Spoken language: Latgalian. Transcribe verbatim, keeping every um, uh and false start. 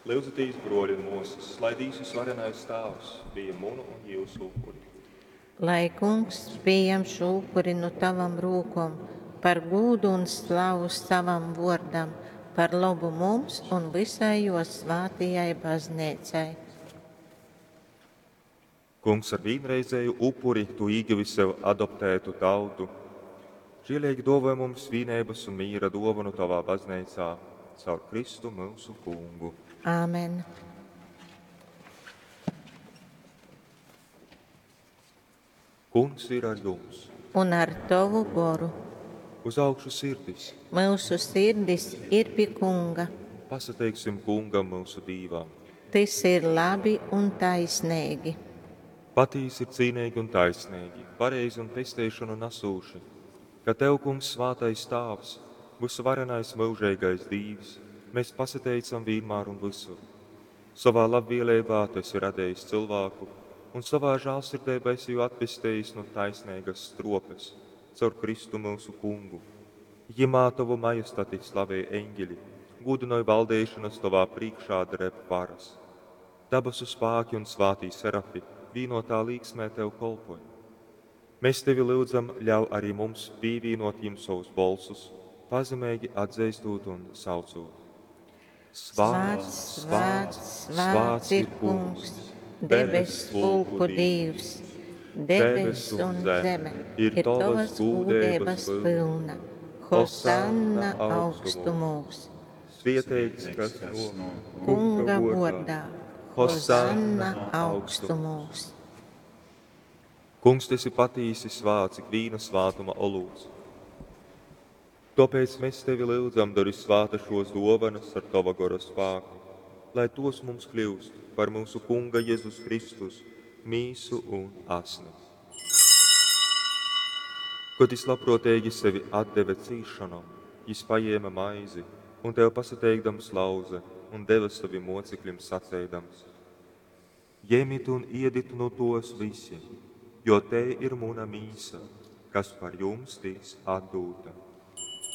Lyudzitīs, bruoļi un muosys, lai Dīvs Vysvarenais Tāvs pījem munu un jiusu upuri. Lai Kungs pījam šū upuri nu tavam rūkom par gūdu un slavu savam vuordam, par lobu mums un visai juo svātajai bazneicai. Kungs, ar vīnreizēju upuri tu īgivi sev adoptētu tautu. Žieleigi duovoj mums vīneibys un mīra duovonu tovā bazneicā caur Kristu myusu Kungu. Āmen. Kungs ir ar jums! Un ar tovu goru. Uz augšu sirdis! Myusu sirdis ir pi Kunga. Pasateiksim Kungam, myusu Dīvam! Tys ir labi un taisneigi. Patīsi ir cīneigi un taisneigi, pareizi un pesteišonu nasūši, ka Tev, Kungs, svātais Tāvs, vysuvarenais myužeigais Dīvs, mēs pasateicam vīnmār un vysur. Sovā labvieleibā Tu esi radejis cylvāku un sovā žālsirdeibā esi jū atpestejis nu taisneigas struopes caur Kristu myusu Kungu. Jymā Tovu majestati slavej eņģeļi, gūdynoj valdeišonas Tovā prīškā dreb varas. Dabasu spāki un svātī serafi vīnotā līksmē Tev kolpoj. Mēs Tevi lyudzam, ļauj arī mums pīvīnot jim savus bolsus, pazemeigi atzeistot un saucot. Svēts, svēts, svēts ir Kungs, debess pulku Dīvs. Debess un zeme ir tavas gūdeibas pilna. Hosanna augstumūs. Svietēts, kas no Kunga vārdā. Hosanna augstumūs. Kungs, tu esi patīsi svāts, ikvīna svātuma olūts. Tāpēc mēs tevi lyudzam, dari svāta šos dovanas ar tava gora spāku, lai tos mums kļūst par mūsu Kunga Jēzus Kristus mīsu un asni. Kad jis labprātīgi sevi atdeva cīšanom, jis paņēma maizi un tev pasateikdams lauze un deva saviem mocekļiem saceidams: Ņemiet un iedit no tos visi, jo te ir muna mīsa, kas par jums tiks atdūta.